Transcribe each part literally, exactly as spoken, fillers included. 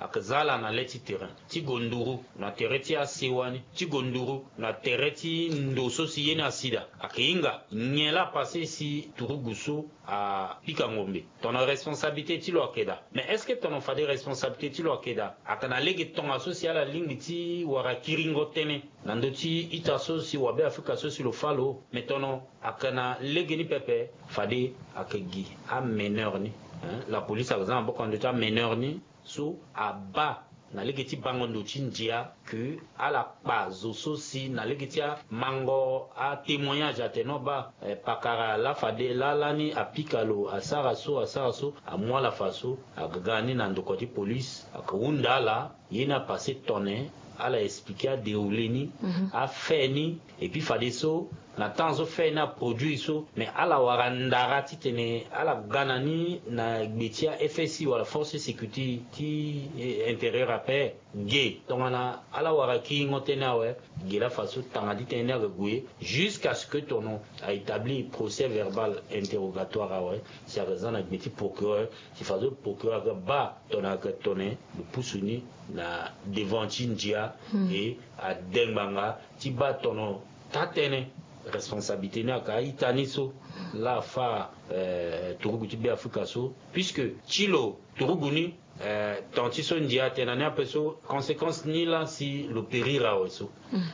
Ayeke za ala na le ti terrain ti gue nduru na tere ti asewa ni, ti gue nduru na tere ti ndo so si ye ni asi daa. Ayeke hinga nyen laa apase si turugu so apika ngombe? Tongana responsabilité ti lo ayeke daa. Mais est-ce que tongana fade responsabilité ti lo ayeke daa, ayeke na lege tongaso si ala lingbi ti wara kiringo tënë na ndö ti ita so si wabe Afrika so si lo fâ lo? Mais tongana ayeke na lege ni pepe, fade ayeke gi ameneur ni, hein, la police ayeke za na maboko na ndö ti ameneur ni so abaa na lege ti bango ndo ti ndia ke ala kpa zo so si na lege ti amango atémoignage atene no baa, eh, pakara laa fade laa lani apika lo asara so asara so, amu ala fa so aga ga ni na ndokua ti police, aga hunda ala. Ye ni apase tone, ala expliquer adéroulé ni, afait ni, et puis fadeso na temps so fait ni aproduire so, mais ala wara ndara titene ala ga na ni na gbe ti aFSI wala force de sécurité ti, eh, intérieur ape. Ge tongana ala wara kiringo tënë awe, ge laa fa so tanga ti tënë ni aga gue jusqu'à ce que tono aétablir procès verbal interrogatoire awe, si aga za na gbe ti procureur, si fa so procureur aga baa tongana aga tone lo pusu ni na devant ti ndia, et ade ngbanga ti baa tono taa tënë responsabilité ni aga a-ita ni so laa afâ, eh, turugu ti Beafrika so, puisque ti lo turugu ni, eh, temps ti so ndia atene na ni ape so conséquence ni laa si lo périr awe so.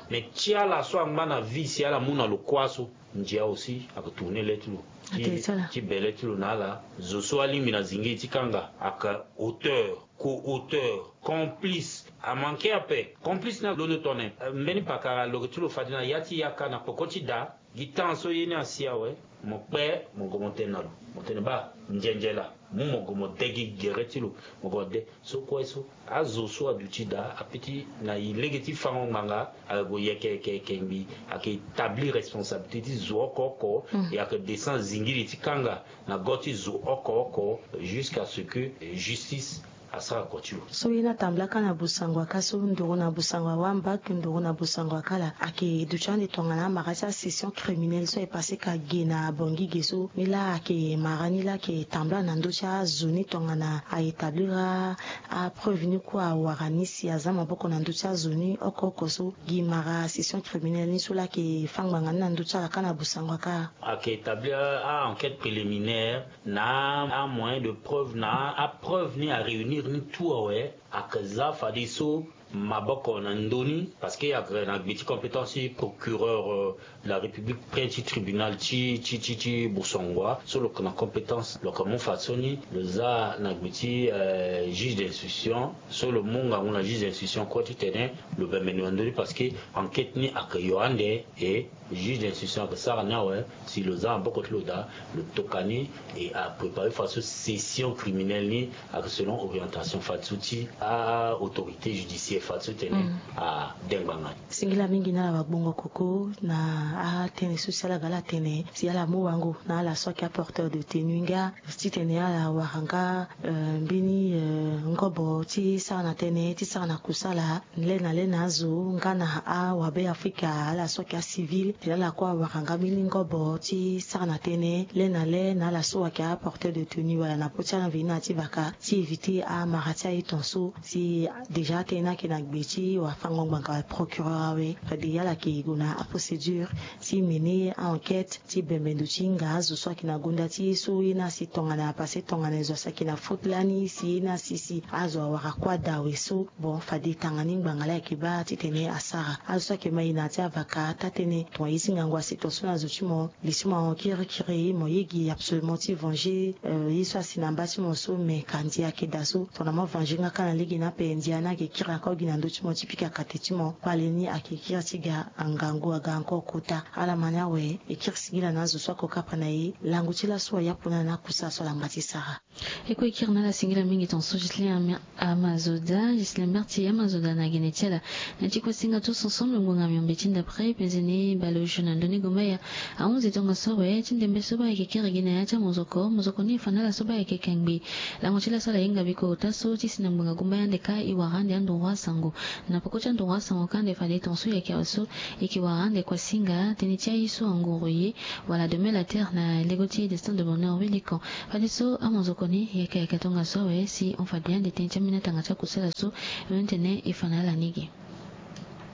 Mais ti ala so angba na vie si ala mu na lo kuâ so, ndia aussi aga tourner le ti lo ti, ti be le ti lo na ala. Zo so alingbi na zingiri ti kanga aga auteur, co-auteur, complice. Amanke ape complice ni alondo tone, eh, mbeni pakara lo yeke ti lo fade na ya ti yaka na peko ti daa. Gi temps so ye ni asi awe, mo kpe mo gue mo tene na lo, mo tene baa, nzenze laa, mu mo gue mo de gi gere ti lo, mo gue mo de. So kue so azo so aduti daa apeti na e lege ti fango ngbanga, ayeke gue yeke yeke yeke ngbii, ayeke établir responsabilité ti zo oko oko, et ayeke descend zingiri ti kanga na go ti zo oko oko jusqu'à ce que, eh, justice asara kua ti lo. So ye ni atambula kâ na Busango aka so, nduru na Busango awamba, nduru na Busango akala, ayeke duti ande tongana amara ti asession criminelle so aye passé ka ge na Bangui ge so. Ni laa ayeke mara ni laa ayeke tambula na ndö ti azo ni tongana a établir apreuve ni kue awara ni si aza maboko na ndö ti azo ni oko oko so. Gi mara session criminelle ni so laa ayeke fâ ngbanga ni na ndö ti ala kâ na Busango aka. Ayeke établir a-enquête préliminaire na amoyen de preuve, na apreuve ni aréunir ni tout awe, ayeke za fadeso maboko na ndö ni, parce que ayeke na gbe ti compétence ti procureur, euh, de la République près ti tribunal ti, ti, ti, ti Busango so lo yeke na compétence, lo yeke mu fadeso ni lo za na gbe ti, euh, juge d'instruction so lo mu ngangu na juge d'instruction kue titene lo bembe ndo na ndö ni, parce que enquête ni ayeke yo ande, et juge d'instruction ayeke sara ni awe, si lo za maboko ti lo daa, lo toka ni, et apréparer fadeso session criminelle ni ayeke selon orientation fadeso ti a-autorité judiciaire fadeso tene ade ngbanga ni. Singila mingi na ala wagbongo koko na atënë so si ala ga ala tene, si ala mu wango na ala so ayeke aporteur de tenue nga titene ala wara nga, euh, mbeni, euh, ngobo ti sara na tënë ti sara na kusala le na le na azo nga na awabe Afrika, ala so ayeke acivil, tene ala kue awara nga mbeni ngobo ti sara na tënë le na le na ala so ayeke aporteur de tenue wala na popo ti ala mveni na ya ti vaka ti éviter amara ti aye tongaso. Si déjà atënë ni ayeke na gbe ti wafango ngbanga procureur awe, fade ala yeke gue na aprocédure ti mener a-enquête ti bembe ndo ti hinga azo so ayeke na gonda ti ye so ye ni asi tongana, parce que tongana zo asi ayeke na faute lani si ye ni asi si azo awara kua daa awe so. Bon, fade tanga ni ngbanga laa ayeke baa titene asara. Azo so ayeke ma e na ya ti avaka taa tënë, tongana ye ti ngangu asi tongaso na zo ti mo, li ti mo ahon kirikiri, mo ye gi absolument ti venger, euh, ye so asi na mba ti mo so, mais ka ndia ayeke daa so. Tongana mo venger nga kâ na lege ni ape, ndia ni ayeke kiri ako gi na ndö ti mo ti pika kate ti mo. Kpale ni ayeke kiri ti ga angangu aga encore kota. Ala ma ni awe, e kiri singila na azo so ako kapa na e. Lango ti laso aye apo na ni na kusa so ala ngba ti sara. E kue e kiri na ala singila mingi tongaso Ghislain Ama-, Amazoda, Ghislain Berti Amazoda na gene ti ala. Na ti kue singa tous ensemble ngbonga miombe ti ndapre penze ni bale osio na ndö ni gumbaya. Ahunzi tongaso awe ti ndembe so baa ayeke kiri gi na ya ti amozoko, mozoko ni e fa na ala so baa ayeke kengbi. Lango ti laso ala hinga biko ota so ti si na ngbonga gumbaya ande kâ e wara ande anduru asango. Na peko ti anduru asango kâ ande fade tongaso e yeke awe so e yeke wara ande kua singa tënë ti aye so anguru ye wala de mel à terre na lego ti Destin de Bonheur Wilikon. Fadeso amozoko Ni yeke yeke tongaso awe si on fade ande tënë ti ambeni atanga ti akusala so. Lo ni tene e fa na ala ni gi.